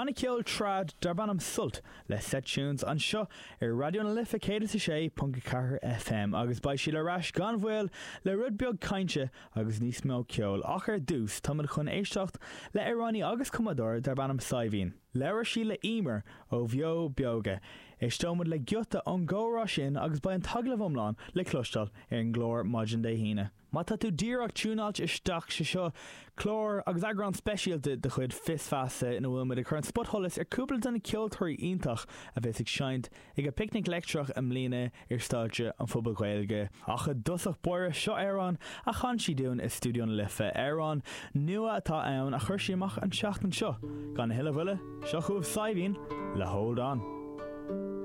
banna ceoil trad darb ainm Sult le Set Tunes anseo ar Raidió na Life 106.4 FM agus beidh siad ar ais gan mhoill le rud beag cainte agus níos mó ceoil ach ar dtús táimid chun éisteacht le amhránaí agus cumadóir darb ainm Saidhbhín. Labhair sí le Emer ó Bheo Beoga. Éisteoimid le giota ón gcomhrá sin agus beidh an t-agallamh iomlán le cloisteáil ar an gclár maidin Dé hAoine. Má tá tú díreach tiúnáilte isteach, sé seo clár agus eagrán speisialta de chuid Fios Feasa ina bhfuil muid ag cur an spotsholas ar cúpla de na ceoltóirí iontach a bheas ag seinnt ag an bPicnic Leictreach i mbliana ar stáitse an Phubaill Ghaeilge. Ach i dtosach báire, seo amhrán a chan sí dúinn i Stiúideo na Life, amhrán nua atá ann a chuir sí amach an tseachtain seo. Gan a thuilleadh mhoille, seo chugaibh Saidhbhín le Hold On.